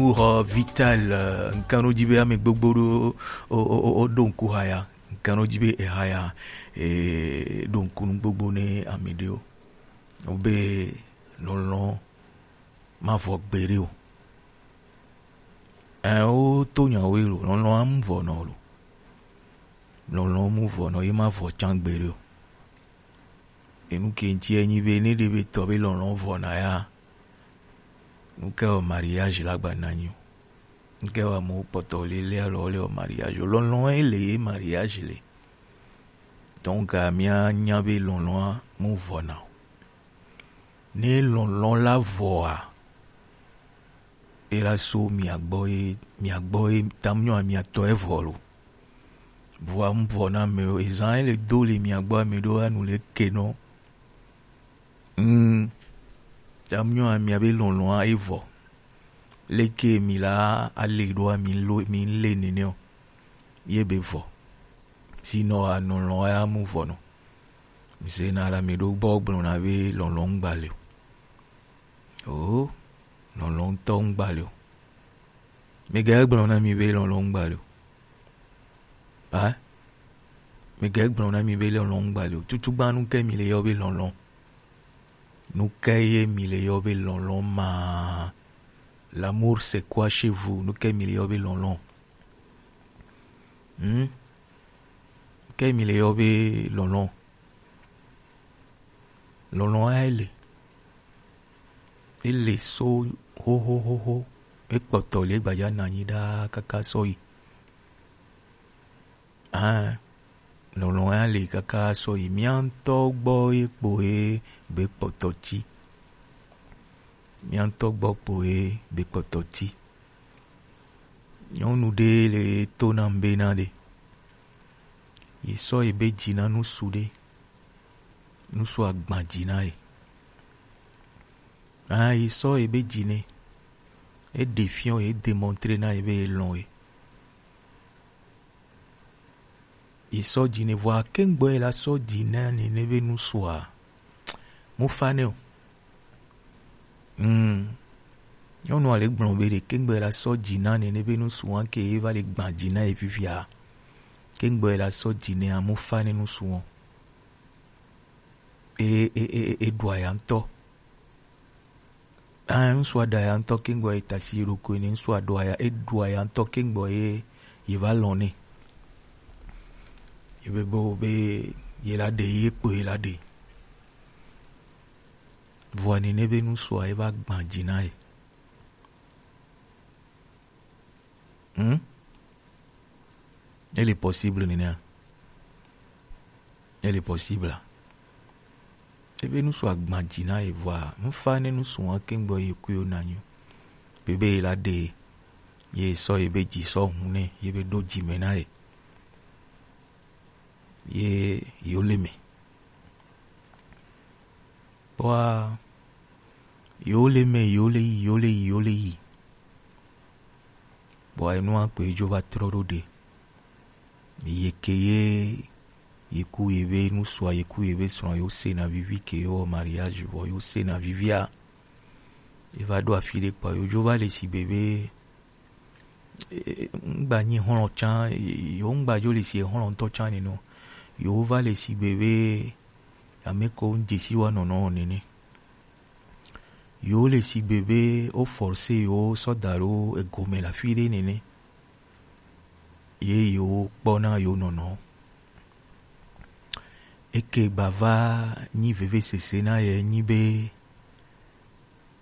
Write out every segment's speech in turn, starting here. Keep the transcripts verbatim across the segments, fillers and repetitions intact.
Nuxɔ vital, eh, ŋkɛn nɔ dzi be ame gbogbo ɖo o, o, o, o ɖo ŋku haya. Ŋkɛn nɔ dzi be ehaya, eh, ɖo ŋku nu gbogbo ne ame ɖewo. Wo be lɔlɔ̃ ma vɔ gbeɖe o. Ɛ, wo to nyawo lo, lɔlɔ̃ amu vɔ nɔ lo. Lɔlɔ̃ mu vɔ nɔ ye ma vɔ can gbeɖe o. Enu ke ŋuti enyi be ne ɖe be tɔ be lɔlɔ̃ vɔ na ya. Nu ke wɔ mariage la gba na nyi o. Nu ke wɔ amewo kpɔtɔ le le alɔ le wɔ mariage o. Lɔlɔ̃ ye le ye mariage le. Donc, mía nya be lɔlɔ̃a mu vɔ na o. Ne lɔlɔ̃ la vɔa, e la so mia gbɔ ye, mia gbɔ ye, tamnyɔ mia tɔ e vɔ lo. Vɔa mu vɔ na me o, ezan e le do le mia gbɔ ame ɖo anu le ke nɔ. Mm. Tamnyɔ mia be lɔlɔ̃a e vɔ. Leke mi la ale ɖoa mi lo, mi le nene o. Ye be vɔ. Sinɔ a nɔlɔ ya mu vɔ nɔ. Mi se na la mi ɖo gbɔ gblɔ na be lɔlɔ ŋgba le o. O, lɔlɔ ŋtɔ ŋgba le o. Mi ga gblɔ na mi be lɔlɔ ŋgba le o. A? Mi ga gblɔ na mi be lɔlɔ ŋgba le o. Tutugbanu ke mi le yɔ be lɔlɔ. Nu ke ye mi le yɔ be lɔlɔ ma? L'amour, c'est quoi chez vous? Nu ke mi le yɔ be lɔlɔ? Hmm? Ke mi le yɔ be lɔlɔ? Lɔlɔ ya ele. Ele so ho, ho, ho, ho. E kpɔtɔ le gbaja na nyi ɖaa kaka sɔ yi. Ah, lɔlɔ ya le kaka sɔ yi. Mia ŋtɔ gbɔ ye kpo ye be kpɔtɔ ti. Mia ŋtɔ gbɔ kpo ye be kpɔtɔ ti. Nyɔnu ɖe le to nam be na ɖe. Ye sɔ ye be dzi na nusu ɖe. Nusu agba dzi na ye. Ah, ye sɔ ye be dzi ne. E ɖe fiɔ ye, e démontrer na ye be ye lɔn ye. Ye sɔ dzi ne vɔa, kengbe ye la sɔ dzi na nene be nusua. Mu fa ne o. Mm. Nyɔnua le gblɔ be ɖe kengbe ye la sɔ dzi na nene be nusua ke ye va le gba dzi na ye fifia. Kengbe ye la sɔ dzi ne amu fa ne nusua. E, e, e, e, e ɖua ya ŋtɔ. Ah, ŋsua ɖa ya ŋtɔ kengbe ye tasi ye ɖokui ne, ŋsua ɖua ya, e ɖua ya ŋtɔ kengbe ye, ye va lɔn ne. Ye be bo be ye la ɖe, ye kpo ye la ɖe. Vɔa nene be nusua ye va gba dzi na ye. Hmm? Ele possible nene a? Ele possible a? Ebe nusu agba dzi na ye vɔa, nufa ne nusu wa kengbe ye kuyo na nyo. Bebe ye la ɖe ye sɔ ye be dzi sɔ hu ne ye be ɖo dzi me na ye. Ye yo le me. Kpɔa, yo le me, yo le yi, yo le yi, yo le yi. Kpɔa, enua kpe dzo va trɔ ɖo ɖe. Ye ke ye, ye ku ye be nusua, ye ku ye be srɔ̃, yo se na vivi ke yo mariage vɔ, yo se na vivia. Ye va ɖo afi ɖe kpɔa, yo dzo va le si be be, e, ŋgba nyi hlɔ̃ tsã, e, yo ŋgba dzo le si hlɔ̃ ŋtɔ tsã nene o. Yo va le si be be, ame ko ŋdze si wa nɔnɔ nene. Yo le sigbe be wo forcer yo sɔ da ɖo egome le afi ɖe nene. Ye yo kpɔna yo nɔnɔ. Eke gbava nyi vevesese na ye nyi be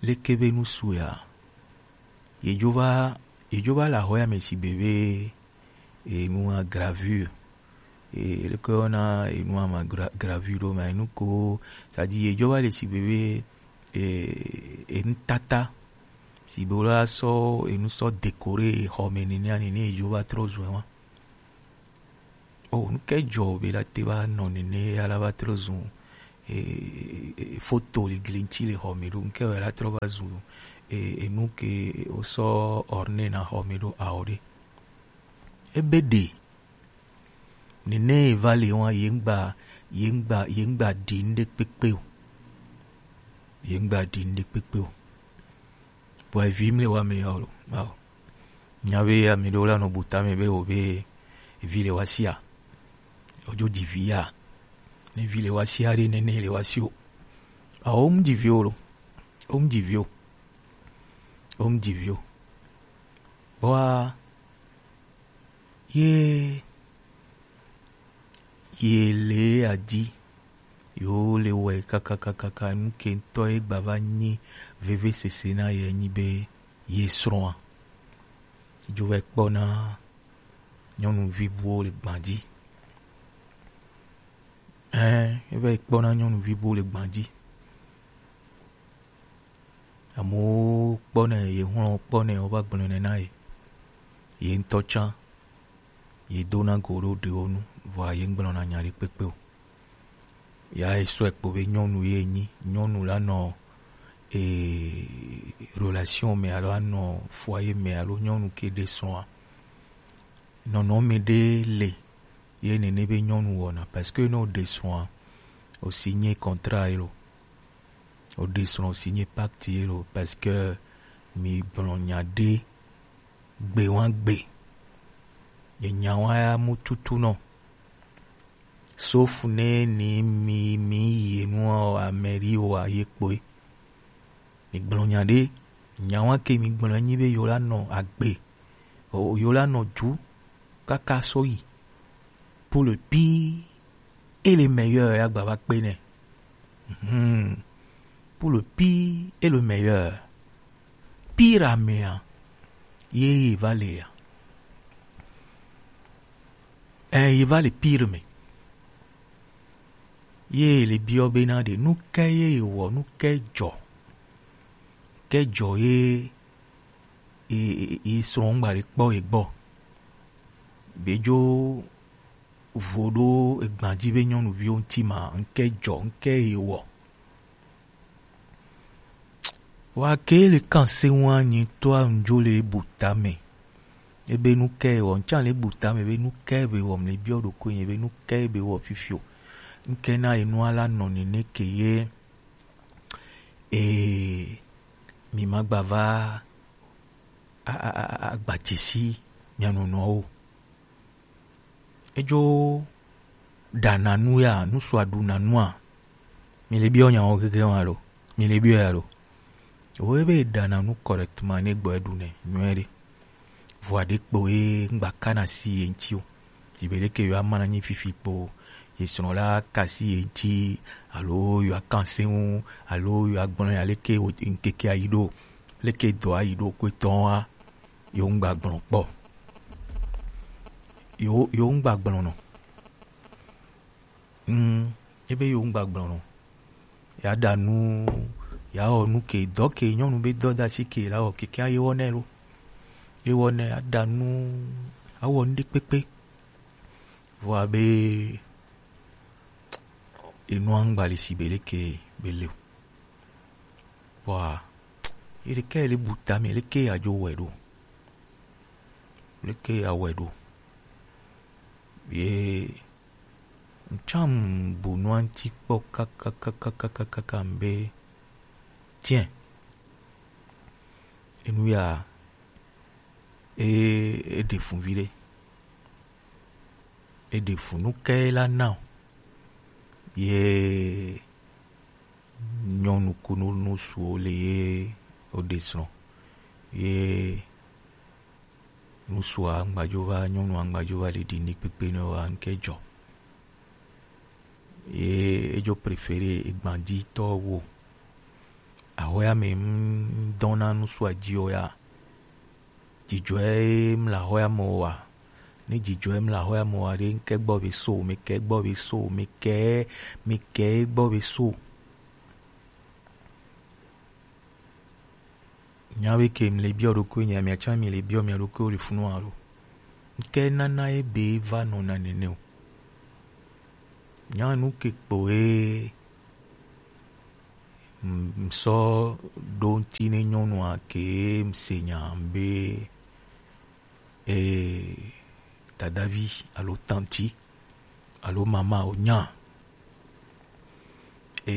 leke be nusu ya. Ye dzo va, ye dzo va le axɔ ya me sigbe be enua gravure. E, leke woyɔna enua ma gra-, gravure ɖo ma, enu ko, c'est-à-dire, ye dzo va le sigbe be, e, enutata. Sigbe wo la sɔ enu sɔ décorer xɔ me nenea nene ye dzo va trɔ zu wa. O, nu ke dzɔ be la te va nɔ nene ya la va trɔ zu, e, e, e, foto le gli ŋti le xɔ me ɖo, nu ke wɔ la trɔ va zu, e, enu ke wo sɔ orner na xɔ me ɖo ao ɖe. Ebe ɖe nene ye va le wa, ye ŋgba, ye ŋgba, ye ŋgba ɖi nuɖe kpekpe o. Ye ŋgba ɖi nuɖe kpekpe o. Bɔ evi mle wa me yɔ lo. Awo. Nya be ame ɖewo la nɔ bu tame be wo be evi le wa sia. Ojo di vi ya. Ne vi le wa sia ɖe nene le wa si o. Awo, mu di vi o lo. O mu di vi o. O mu di vi o. Bɔa ye ye le adi yo le wɛ kakakakaka, nu ke ŋutɔ ye gba va nyi vevesese na ye nyi be ye srɔ̃a dzo va kpɔna nyɔnuvi buwo le gbadzi. Ɛɛ, eva yi kpɔna nyɔnuvi buwo le gbadzi. Amewo kpɔnɛ, ye hlɔ̃ kpɔnɛ, wova gblɔnɛ na ye. Ye ŋutɔ tsã, ye dona go ɖo ɖewo nu, vɔa ye ŋgblɔna nya ɖe kpekpe o. Ya esɔe kpo be nyɔnu ye nyi, nyɔnu la nɔ e, relation me alo anɔ foyer me alo nyɔnu ke ɖe srɔ̃a. Nɔnɔme ɖe le ye nene be nyɔnu wɔna, parce que ne o ɖe srɔ̃a, o signé contrat ye lo. O ɖe srɔ̃ o signé pacte ye lo, parce que mi gblɔ nya ɖe gbe wa gbe. Ye nya wa ya mu tutu nɔ. Sauf ne ni mi, mi yi nua o, ameri o, a ye kpoe. Mi gblɔ nya ɖe, nya wa ke mi gblɔ nyi be yo la nɔ agbe. O, yo la nɔ ju kaka sɔ yi. Pour le pire et le meilleur, ya gba va kpe nɛ. Mhm. Pour le pire et le meilleur. Pire amea, ye ye va le ya. Ɛ, ye va le pire me. Ye le biɔ bena ɖe, nu ke ye wɔ, nu ke dzɔ. Ke dzɔ ye, ye, ye, ye srɔ̃ ŋgba ɖe kpɔ ye gbɔ. Be dzo vo ɖo egbadzi be nyɔnuviwo ŋuti ma, ŋke dzɔ, ŋke ye wɔ. Wa ke le kan se wa nyi to a ŋdzo le bu tame. Ebe nu ke wɔ, ŋtsa le bu tame be nu ke be wɔ, mle biɔ ɖokui nye be nu ke be wɔ fifio. Ŋke na ye nua la nɔ nene ke ye, e, mi ma gba va a, a, a, a, agbatsi si mia nɔnɔwo. Edzo ɖana nu ya, nu sua ɖuna nua. Mi le biɔ nyawo gege wa lo. Mi le biɔ ya lo. Wo be ɖana nu correctement ne gbɔ eɖu ne nyuie ɖe. Vɔa ɖe kpo ye ŋgba kana si ye ŋuti o. Dzibe leke yo ama na nyi fifi kpo ye srɔ̃ la kasi ye ŋuti alo yo akan se ŋu alo yo agblɔ ya leke wo ŋkeke ayi ɖo. Leke dɔ ayi ɖo ko etɔn wa. Yo ŋgba gblɔ kpɔ. Yo, yo ŋgba gblɔ nɔ. Mm, ebe yo ŋgba gblɔ nɔ. Ya ɖa nu, ya wɔ nu ke, dɔ ke nyɔnu be dɔ da si ke la wɔ keke ye wɔ nɛ lo. Ye wɔ nɛ, ya ɖa nu, awɔ nu ɖe kpekpe. Vɔa be, enua ŋgba le si be leke be le o. Vɔa, ye ɖeke le bu tame, leke ya dzo wɛ ɖo. Leke ya wɛ ɖo. Ye ŋtsam bu nua ŋti kpɔ kakakakakakaka mbe. Tiens. Enu ya, e, e ɖe fun viɖe. E ɖe fun nu ke la na o. Ye nyɔnu kunu nusuwo le ye o ɖe srɔ̃. Ye nusua ŋgbadzo va, nyɔnua ŋgbadzo va le ɖi ni kpekpe ne wa ŋke dzɔ. Ye edzo préféré egbaditɔ wo. Ahɔya me ŋdɔna nusua dzi o ya. Dzidzɔe mla ahɔya me wa. Ne dzidzɔe mla ahɔya me wa ɖe, ŋke gbɔ be so, mi ke gbɔ be so, mi ke, mi ke gbɔ be so. Nya be ke mle biɔ ɖokui nya, mia tsã mi le biɔ mia ɖokui le funu alo. Ŋke nana ye be va nɔna nene o. Nya nu ke kpo ye m-, m sɔ ɖo ŋti ne nyɔnua ke m se nya be, e, dadavi alo tanti alo mama o nya. E,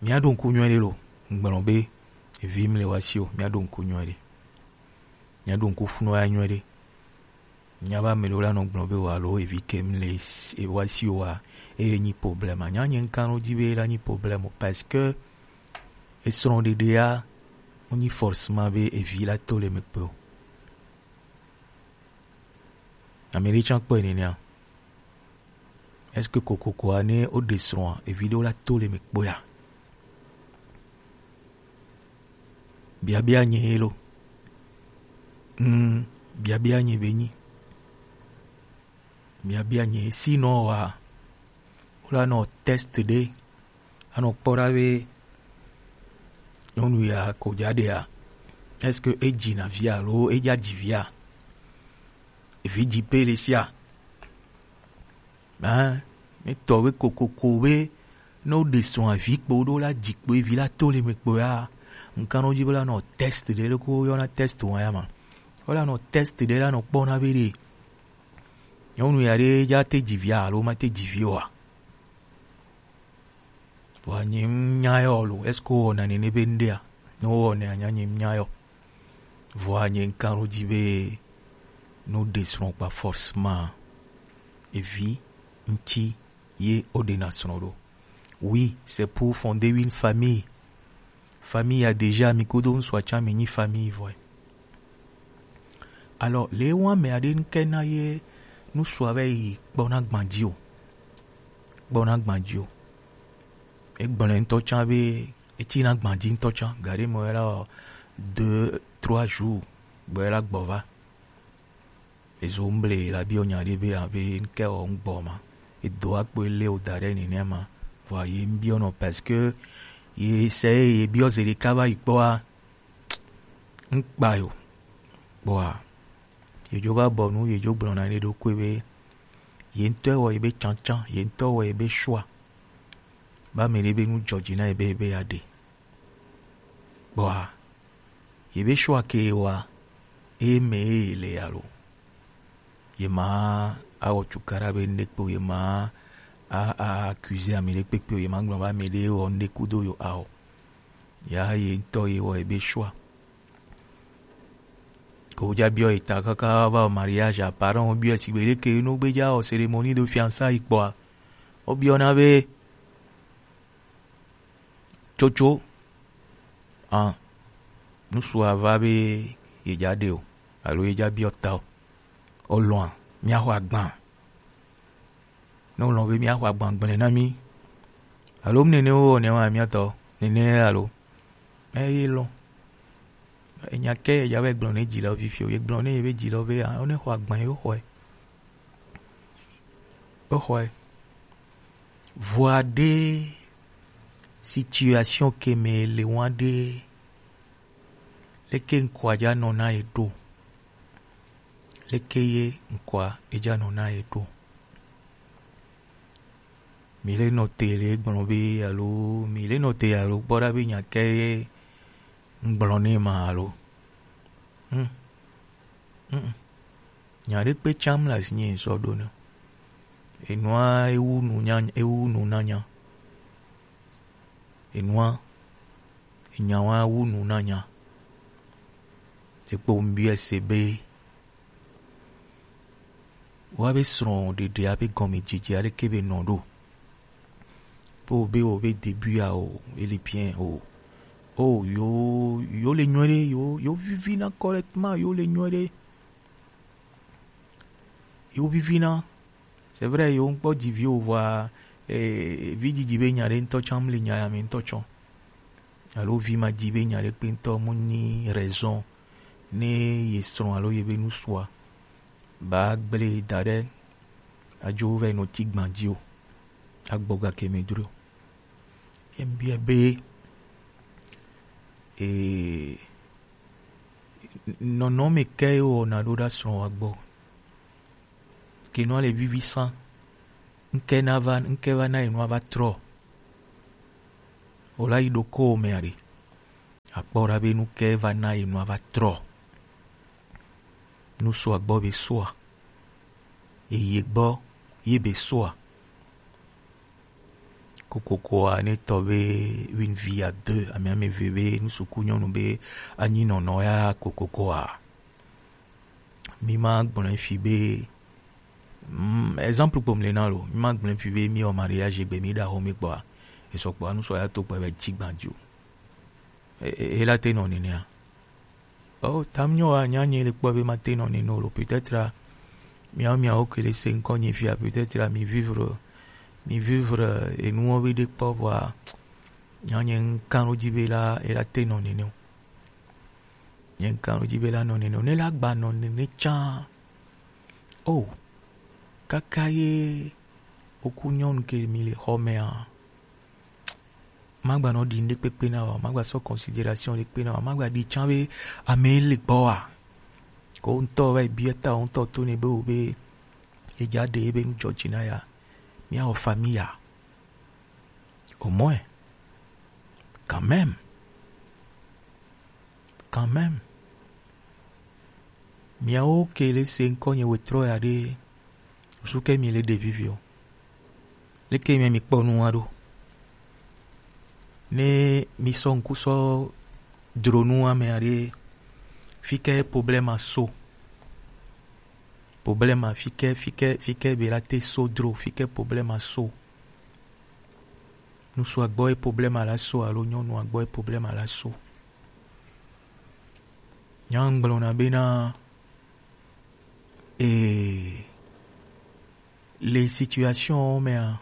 mia ɖo ŋku nyuie ɖe lo, ŋgblɔ be, Evi mle wa si o, mia ɖo ŋku nyuie ɖe. Mia ɖo ŋku funu ya nyuie ɖe. Mia ba mle wo la nɔ gblɔ be wa lo evi ke mle s-, e wa si o wa, e nyi problème. Nya nye ŋkan ɖo dzi be la nyi problème o, parce que esrɔ̃ɖeɖea, wo nyi forcément be evi la to le me kpe o. Ame ɖe tsã kpɔe nenea. Est-ce que kokoko a ne woɖe srɔ̃a, evi ɖewo la to le me kpɔea? Biabia nye ye lo. Mm, biabia nye be nyi. Biabia nye ye. Sinon wa, wola nɔ test ɖe, anɔ kpɔ ɖa be nyɔnu ya ko dza ɖea, est-ce que edzi na via alo edza dzi via? Evi dzi pe le sia. Hein, mi tɔ be kokoko be ne woɖe srɔ̃ avi kpo ɖo la dzi kpo evi la to le me kpo ya, ŋkan ɖo dzi be la nɔ test ɖe, leke woyɔna test wa ya ma. Wola nɔ test ɖe la nɔ kpɔ na be ɖe nyɔnu ya ɖe dza te dzi via alo ma te dzi vi oa. Vɔa nye ŋ nya yɔ lo, est-ce que wowɔna nene be ŋɖea? Ne wowɔnɛ anya nye ŋ nya yɔ. Vɔa nye ŋkan ɖo dzi be ne woɖe srɔ̃ kpa forcément evi ŋti ye woɖena srɔ̃ ɖo. Oui, c'est pour fonder une famille. Famille ya déjà, mi kudo ŋsua tsã mi nyi famille vɔe. Alors, le wa me aɖe ŋke na ye ŋsua va yi kpɔna gbã dzi o. Kpɔna gbã dzi o. Egblɔe ŋutɔ tsã be etsina gbã dzi ŋutɔ tsã. Gaɖe me la, deux, trois jours gbɔ la gbɔ va. Ezo mble la biɔ nya ɖe be abe ŋke wɔ ŋgbɔ ma. Edo akpo ele o da ɖe nene ma. Vɔa ye ŋbiɔ nɔ parce que ye se ye biɔ ze ɖeka va yi kpɔa. Ŋkpa yo. Kpɔa. Ye dzo va bɔ nu, ye dzo gblɔ na ye ɖokui be ye ŋutɔ wɔ ye be tsantsan, ye ŋutɔ wɔ ye be choix. Ba me ɖe be nu dzɔ dzi na ye be, be ya ɖe. Kpɔa. Ye be choix ke wa, e me ye le ya lo. Ye ma awɔ cukaɖa be ŋɖe kpe o, ye ma a, a accuse ame ɖe kpekpe o, ye ma gblɔ be ame ɖe wɔ ŋɖe kudo yo a o. Ya ye ŋutɔ ye wɔ ebe choix. Ko dza biɔ eta kaka va wɔ mariage, parents wo biɔ sigbe ɖeke no gbe dza wɔ cérémonie de fiançailles kpɔa. Wo biɔna be tsotso, ah, ŋsua va be ye dza ɖe o, alo ye dza biɔ ta o. O lɔ̃a, mia xɔ agban. Ne o lɔ̃ be mia xɔ agban gblẽ na mi. Alo mu nene wo nɛ wa mia tɔ, nene alo. Eye lɔ̃. Enya ke ya be gblɔ ne dzi le fifi o, ye gblɔ ne ye be dzi le be, ah, o ne xɔ agban ye o xɔe. O xɔe. Vɔa ɖe situation ke me le wa ɖe, leke ŋkɔa dza nɔ na ye ɖo? Leke ye ŋkɔa edza nɔ na ye ɖo? Mi le nɔ te le gblɔ be alo mi le nɔ te alo kpɔ ɖa be nya ke ye ŋgblɔ ne ma alo? Hmm. Hmm. Nya ɖe kpe tsam le asi nye ŋsɔ ɖo ne. Enua ewu nu nya, ewu nu na nya. Enua, enya wa wu nu na nya. Ekpo ŋbiɔ ese be, wa be srɔ̃ɖeɖea be gɔmedzedzea leke be nɔ ɖo? Be wo be wo be début ya o, ele bien o. O, yo, yo le nyuie ɖe, yo, yo vivina correctement, yo le nyuie ɖe. Yo vivina. C'est vrai, yo ŋkpɔ dzi vi o vɔa, eh, vi dzidzi be nya ɖe ŋutɔ tsã mu le nya ya me ŋutɔ tsɔ. Alo vi ma dzi be nya ɖe kpe ŋutɔ mu nyi raison ne ye srɔ̃ alo ye be nusua ba gblẽ da ɖe adzo va yi nɔ ti gbã dzi o. Agbɔ gake me dro. Ye ŋbia be, eh, nɔnɔme ke ye wɔna ɖo ɖa srɔ̃ wa gbɔ. Ke nua le vivi sã. Ŋke na va, ŋke va na ye nua va trɔ. O la yi ɖo ko me aɖe. Akpɔ ɖa be nu ke va na ye nua va trɔ. Nu sua gbɔ be sua. Ye ye gbɔ ye be sua. Kokokoa ne tɔ be une vie à deux, ame ame eve be nusuku nyɔnu be anyi nɔnɔ ya kokokoa. Mi ma gblɔ fi be, mm, exemple kpom le na lo, mi ma gblɔ fi be mi o mariage gbe mi da ho mi kpɔa, esɔ kpɔa nu sɔ ya to kpɔ be tsi gbanjo. E, e, e la te nɔ nenea. Oh, tam nyɔ wa nya nye le kpɔ be ma te nɔ nene o lo. Peut-être, ah, miawo, miawo ke le se ŋkɔ nye fia, peut-être, ah, mi vivre, mi vivre, eh, enuwo be ɖe kpɔ vɔa, nya nye ŋkan ɖo dzi be la, e la te nɔ nene o. Nye ŋkan ɖo dzi be la nɔ nene o. Ne la gba nɔ nene tsã. Oh, kaka ye oku nyɔnu ke mi le xɔ mea. Magba nɔ ɖi ŋɖekpekpe na wa, magba sɔ considération ɖekpe na wa, magba ɖi tsã be ame le gbɔ wa. Ko ŋutɔ va yi bia ta ŋutɔ to ne be wo be edza ɖe ebe nu dzɔ dzi na ya. Mia wɔ famille ya. Au moins. Quand même. Quand même. Miawo ke le se ŋkɔ nye wetrɔ ya ɖe, su ke mi le ɖevi vi o. Leke mi mi kpɔ nua ɖo? Ne mi sɔ ŋku sɔ dro nua me ya ɖe, fi ke problème a so? Problème a fi ke, fi ke, fi ke be la te so dro, fi ke problème a so? Ŋutsu a gbɔ ye problème a la so alo nyɔnu a gbɔ ye problème a la so? Nya ŋgblɔna bena, eh, le situation mea,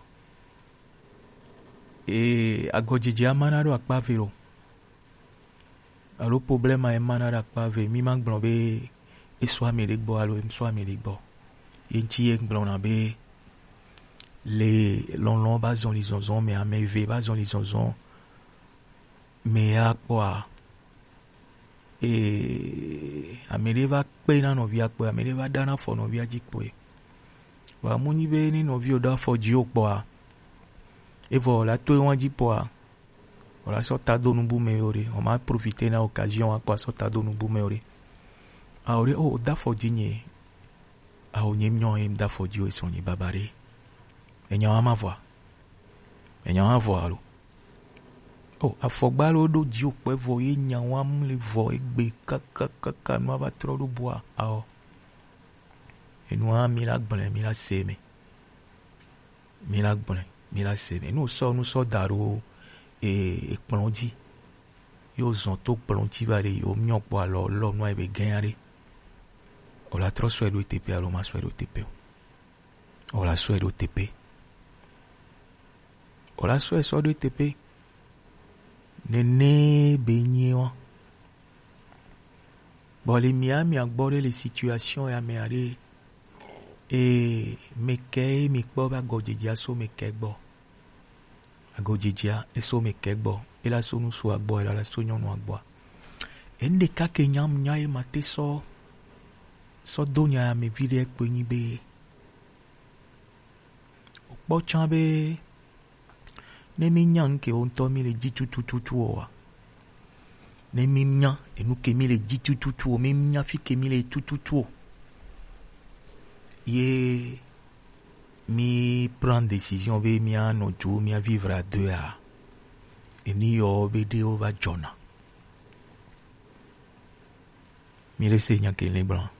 eh, agɔdzedze ama na ɖo akpa ve lo. Alo problème a ema na ɖo akpa ve, mi ma gblɔ be e sɔ ame ɖe gbɔ alo e sɔ ame ɖe gbɔ. Ye ŋuti ye ŋgblɔna be le lɔlɔ ba zɔli zɔzɔ me, ame eve ba zɔli zɔzɔ me ya kpɔa, ee, ame ɖe va kpe na nɔvia kpɔe, ame ɖe va ɖa na afɔ nɔvia dzi kpɔe. Vɔa mu nyi be ne nɔvi o ɖo afɔ dzi o kpɔa, evɔ la to ewa dzi kpɔa, o la sɔ ta do nubu me o ɖe, o ma profiter na occasion wa kpɔa sɔ ta do nubu me o ɖe. A o ɖe o da afɔ dzi nye, a o nye nyɔ ye da afɔ dzi o esɔ nye baba ɖe. Enya wa ma vɔa. Enya wa vɔ alo? O, afɔgba lo ɖo dzi o kpɛ vɔ ye nya wa mu le vɔ egbe kakakaka nua va trɔ ɖo bua aɔ. Enua mi la gblẽ, mi la se me. Mi la gblẽ, mi la se me. Nu sɔ, nu sɔ da ɖo e, ekplɔ̃ dzi. Yo zɔn to kplɔ̃ dzi va ɖe yo miɔ kpɔ alɔ lɔ nua ebe gɛ̃ aɖe. O la trɔ sɔe ɖo teƒe alo ma sɔe ɖo teƒe o. O la sɔe ɖo teƒe. O la sɔe sɔ ɖo teƒe. Nene be nyi wa. Bɔ le mia, mia gbɔ ɖe le situation ya me aɖe. E, me kɛ mi kpɔ be agɔdzedzea so me kɛ gbɔ. Agɔdzedzea eso me kɛ gbɔ. E la so ŋutsu a gbɔ, e la, la so nyɔnu a gbɔa. Enu ɖeka ke nyam nya ye ma te sɔ, sɔ do nya ya me vi ɖe kpe nyi be, o kpɔ tsã be, ne mi nya nu ke wo ŋutɔ mi le dzi tututu o wa, ne mi nya enu ke mi le dzi tututu o, mi nya fi ke mi le tututu o, ye mi prend décision be mia nɔ dzo, mia vivre à deux a, eni yɔ be ɖewo va dzɔna. Mi le se nya ke le blanc.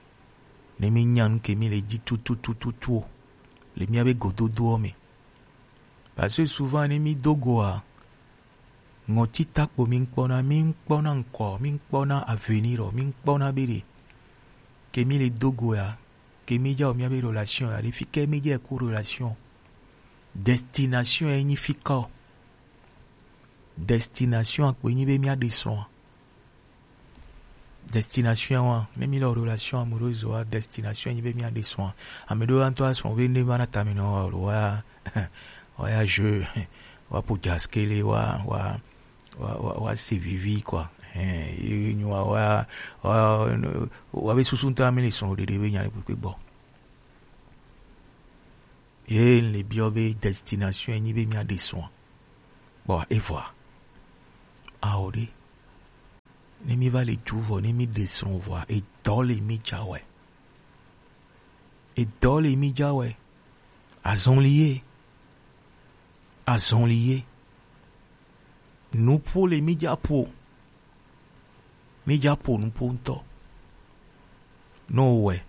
Ne mi nya nu ke mi le dzi tututututu o, le mia be gododoɔ me. Parce que souvent ne mi do goa, ŋɔti takpo mi ŋkpɔna, mi ŋkpɔna ŋkɔ, mi ŋkpɔna avenir, mi ŋkpɔna be ɖe ke mi le do goa, ke mi dza o mia be relation ya ɖe fi ke mi dze ku relation. Destination ye nyi fi ka o. Destination akpo nyi be mia ɖe srɔ̃a. Destination wa, ne mi le relation amoureuse wa, destination nyi be mia ɖe srɔ̃a. Ame ɖewo ŋutɔ asrɔ̃ be ne va na tame nɔ wa, wa, wa ya jeu, wa po jaskele, wa, wa, wa, wa, wa se vivi quoi. Hein, ye nyi wa, wa, wa, wa be susu ŋutɔ ame le srɔ̃ ɖeɖe be nya le kpekpe gbɔ. Ye le biɔ be destination nyi be mia ɖe srɔ̃a. Kpɔ evɔa. Ao ɖe. Ne mi va le ju vɔ, ne mi ɖe srɔ̃ vɔa, edɔ le mi dza wɛ. Edɔ le mi dza wɛ. Azɔli ye. Azɔli ye. Nuƒo le mi dza ƒo. Mi dza ƒo nuƒo ŋutɔ. Ne wowɔe,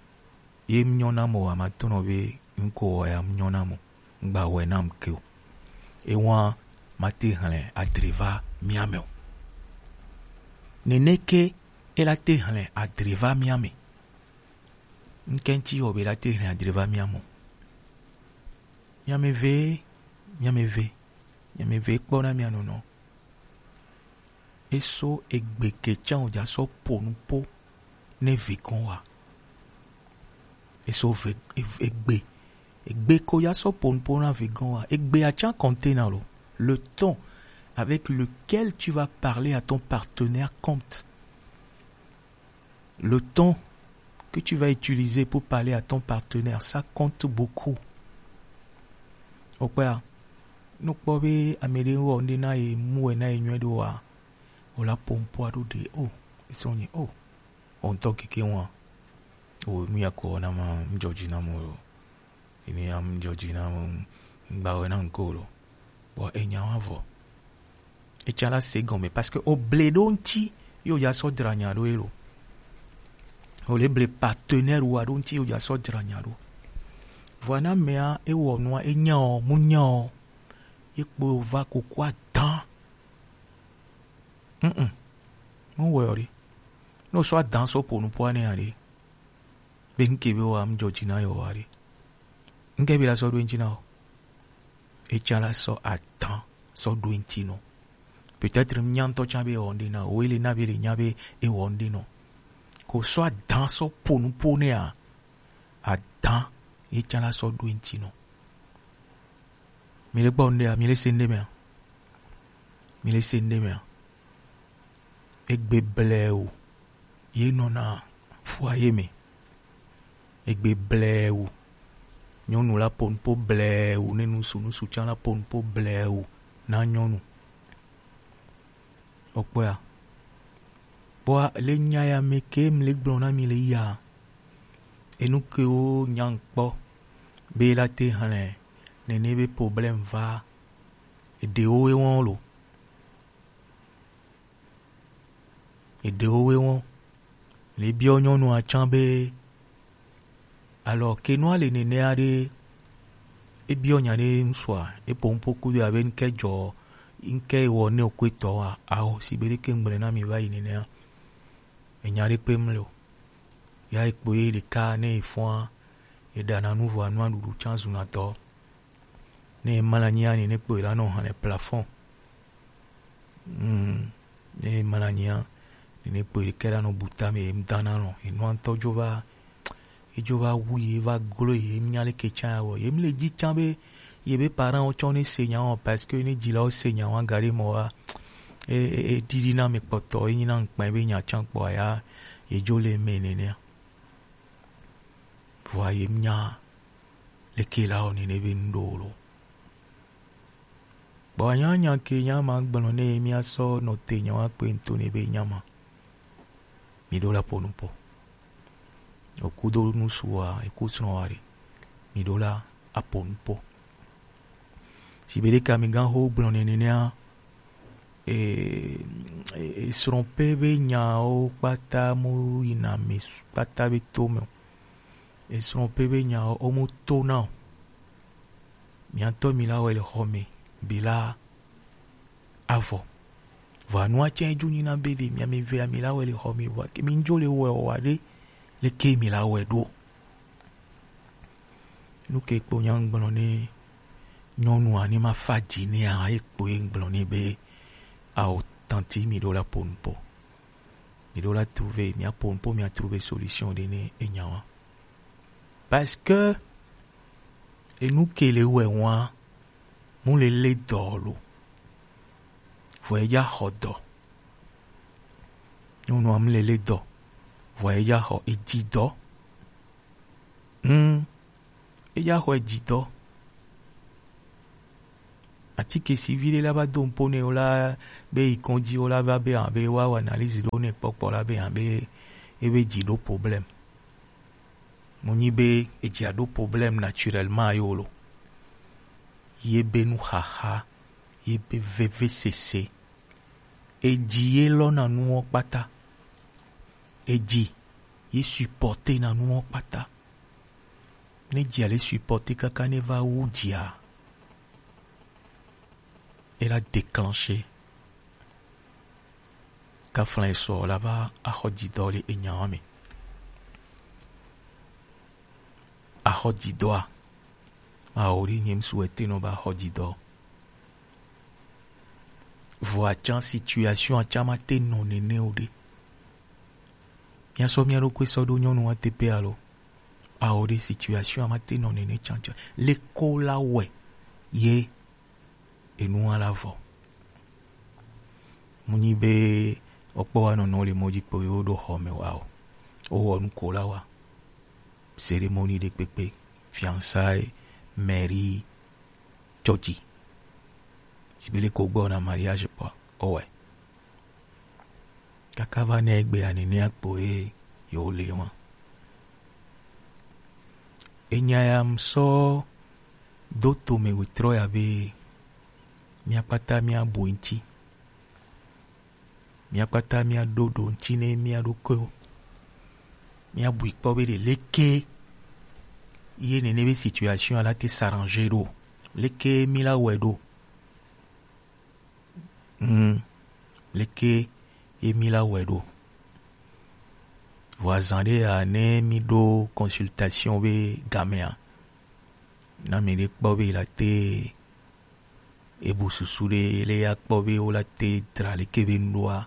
ye nyɔ nam o, a ma to nɔ be ŋko wɔ ya nyɔ nam o, ŋgba wɔe nam ke o. Ewa ma te hlẽ adre va mia me o. Neneke e la te hlẽ adre va mia me. Ŋkɛntsi wɔ be la te hlẽ adre va mia me o. Mia me ve, mia me ve, mia me ve kpɔ na mia nɔnɔ. Eso egbe ke tsã o dza sɔ po nupo ne vegɔn wa. Eso ve, e-, egbe. Egbe ko dza sɔ po nupo na vegɔn wa. Egbe a tsã compte na lo. Le ton avec lequel tu vas parler à ton partenaire compte. Le ton que tu vas utiliser pour parler à ton partenaire, ça compte beaucoup. Okpɔa, ne kpɔ be ame ɖe wɔ ŋɖe na ye, mu wɛ na ye nyuie ɖo wa, o la pompo aɖo ɖe, o, esrɔ̃ nye, o, o ŋutɔ keke wa, o, nu ya ko na ma, ŋdzɔ dzi na mo lo. Ini am ŋdzɔ dzi na mo, ŋgba wɛ na ŋko lo. Bon, enya wa vɔ. Etsã la se gɔme parce que o ble ɖo ŋti yo dza sɔ dzra nya ɖo elo. O le ble partenaire wa ɖo ŋti yo dza sɔ dzra nya ɖo. Vɔa na mea ewɔ nua enya o, mu nya o. Ye kpo va koko adan. Mm-mm. Mu wɛ o ɖe. No sɔ adan sɔ po nupo ane aɖe. Be ŋke be wa ŋdzɔ dzi na yo wa ɖe. Ŋke be la sɔ ɖo ŋti na o. Etsã la sɔ adan sɔ ɖo ŋti no. Peut-être nya ŋutɔ tsã be ewɔ ŋɖe na o, ele na be le nya be ewɔ ŋɖe nɔ. Ko sɔ adan sɔ po nupo nɛa, adan ye tsã la sɔ ɖo ŋti nɔ. Mi le gbɔ ŋɖea, mi le se ŋɖe mea? Mi le se ŋɖe mea? Egbe blɛwu ye nɔna foyer me. Egbe blɛwu. Nyɔnu la po nupo blɛwu, ne nusu, nusu tsã la po nupo blɛwu na nyɔnu. Okpɔa. Kpɔa, le nya ya me ke mi le gblɔ na mi le ya. Enu ke wo nya ŋkpɔ be la te hlẽ nene be problème va. Eɖewo we wɔn lo. Eɖewo we wɔn. Le biɔ nyɔnua tsã be, alors ke nua le nenea ɖe, ebiɔ nya ɖe ŋsua, epo ŋpo kudo abe ŋke dzɔ, ŋke wɔ ne okwe tɔ wa, ao, si be ɖeke ŋgble na mi va yi nenea. Enya ɖe kpe mle o. Ya ekpo ye ɖeka ne efɔa, eɖana nu vɔa nua ɖuɖu tsã zuna tɔ. Ne emla anyi ani ne kpɔe la nɔ hã le plafond. Mm. Ne emla anyi a, ne kpɔe ke la nɔ buta me em dana nɔ. Enua ŋutɔ dzo va, edzo va wu ye va glo ye nya le ke tsã ya wɔ. Ye mle dzi tsã be ye be parents wo tsɔ ne se nya o parce que ne dzilawo se nya wa gari mɔ wa. E, e, e didi na me kpɔtɔ, e nyi na ŋkpɛ be nya tsã kpɔ ya, ye dzo le me nenea. Vɔa ye nya leke la wɔ nene be ŋɖo lo. Kpɔ anya nya ke nya ma gblɔ ne mia sɔ nɔ te nya wa kpe ŋto ne be nya ma. Mi ɖo la po nupo. Okudo nusua, eku srɔ̃ wa ɖe. Mi ɖo la apo nupo. Si be ɖeka mi gan ho gblɔ ne nenea, e, e, e, srɔ̃ƒe be nyawo kpata mu yina me s-, kpata be to me o. Esrɔ̃ƒe be nyawo wo mu to na o. Miatɔ mi la wɛ le xɔ me be la avɔ. Vɔa nua tsɛ dzo nyina be ɖe mia mi vea mi la wɛ le xɔ me vɔa ke mi dzo le wɛ o wa ɖe leke mi la wɛ ɖo. Nu ke kpo nya ŋgblɔ ne nyɔnua ne ma fa dzi nea, ye kpo ye ŋgblɔ ne be, ao, tanti, mi ɖo la po nupo. Mi ɖo la trouver, mia po nupo, mia trouver solution ɖe ne enya wa. Parce que enu ke le wɛ wa, mu le le dɔ lo. Vɔ eya xɔ dɔ. Nyɔnua mu le le dɔ. Vɔ eya xɔ edzi dɔ. Hmm. Eya xɔ edzi dɔ. Atike si vi ɖe la va do ŋpo ne wo la be yi kɔdzi wo la va be abe wa wɔ analyse ɖo ne kpɔkpɔ la be abe ebe dzi ɖo problème. Mo nyi be edzia ɖo problème naturellement yo lo. Ye be nuxaxa, ye be vevesese, Eji ye lɔ na nuwo kpata. Eji ye supporter na nuwo kpata. Ne ji ale supporter kaka ne va wu jia, e la déclencher. Kaflan esɔ la va axɔ jidɔ le enyawa me. Axɔ jidɔa, awo ɖe nye ŋsu ete nɔ va axɔ jidɔ. Vɔ atsan situation atsan ma te nɔ nene o ɖe. Mia sɔ mia ɖokui sɔ ɖo nyɔnu wa te pe alo? Awo ɖe situation ma te nɔ nene tsantsan. Leko la wɛ ye enu wa la vɔ. Mu nyi be okpɔ wa nɔnɔ le mɔ ji kpo ye wo ɖo xɔ me wa o. Wo wɔ nu ko la wa. Cérémonie ɖe kpekpe, fiançailles, mairie, tsɔtsi. Si be le ko gbɔ na mariage kpɔ, owɛ. Kaka va ne egbe anene akpo ye yo le wa. Enya ya m sɔ do to me wetrɔ ya be mia kpata mia bu ŋtsi. Mia kpata mia ɖo ɖo ŋtsi ne mia ɖokuiwo. Mia bui kpɔ be ɖe leke ye nene be situation la te s'arranger ɖo. Leke mi la wɛ ɖo. Hmm. Leke ye mi la wɛ ɖo. Vɔ azan ɖe ya ne mi ɖo consultation be gamea, na mi ɖe kpɔ be la te ebu susu ɖe le ya kpɔ be wo la te dra leke be nu ɖoa.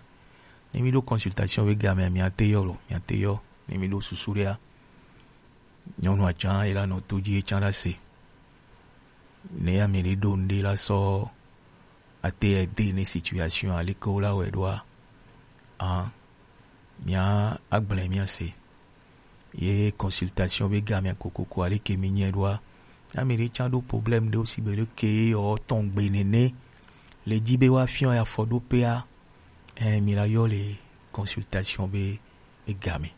Ne mi ɖo consultation be gamea, mi ate yɔ lo, mi ate yɔ. Ne mi ɖo susu ɖea, nyɔnu atsan ye la nɔ to ji ye tsan la se. Ne ya mi ɖe ɖo nu ɖe la sɔ ate ede ne situation aleke wo la wɛ ɖoa, an, mia agblẽ mia se. Ye consultation be gamea kokoko aleke mi nyɛ ɖoa, ya mi ɖe tsan ɖo problème ɖe osi be leke ye yɔ tɔn gbe nene le ji be wa fiɔ ya fɔ ɖo pea, ɛ, mi la yɔ le consultation be, be game.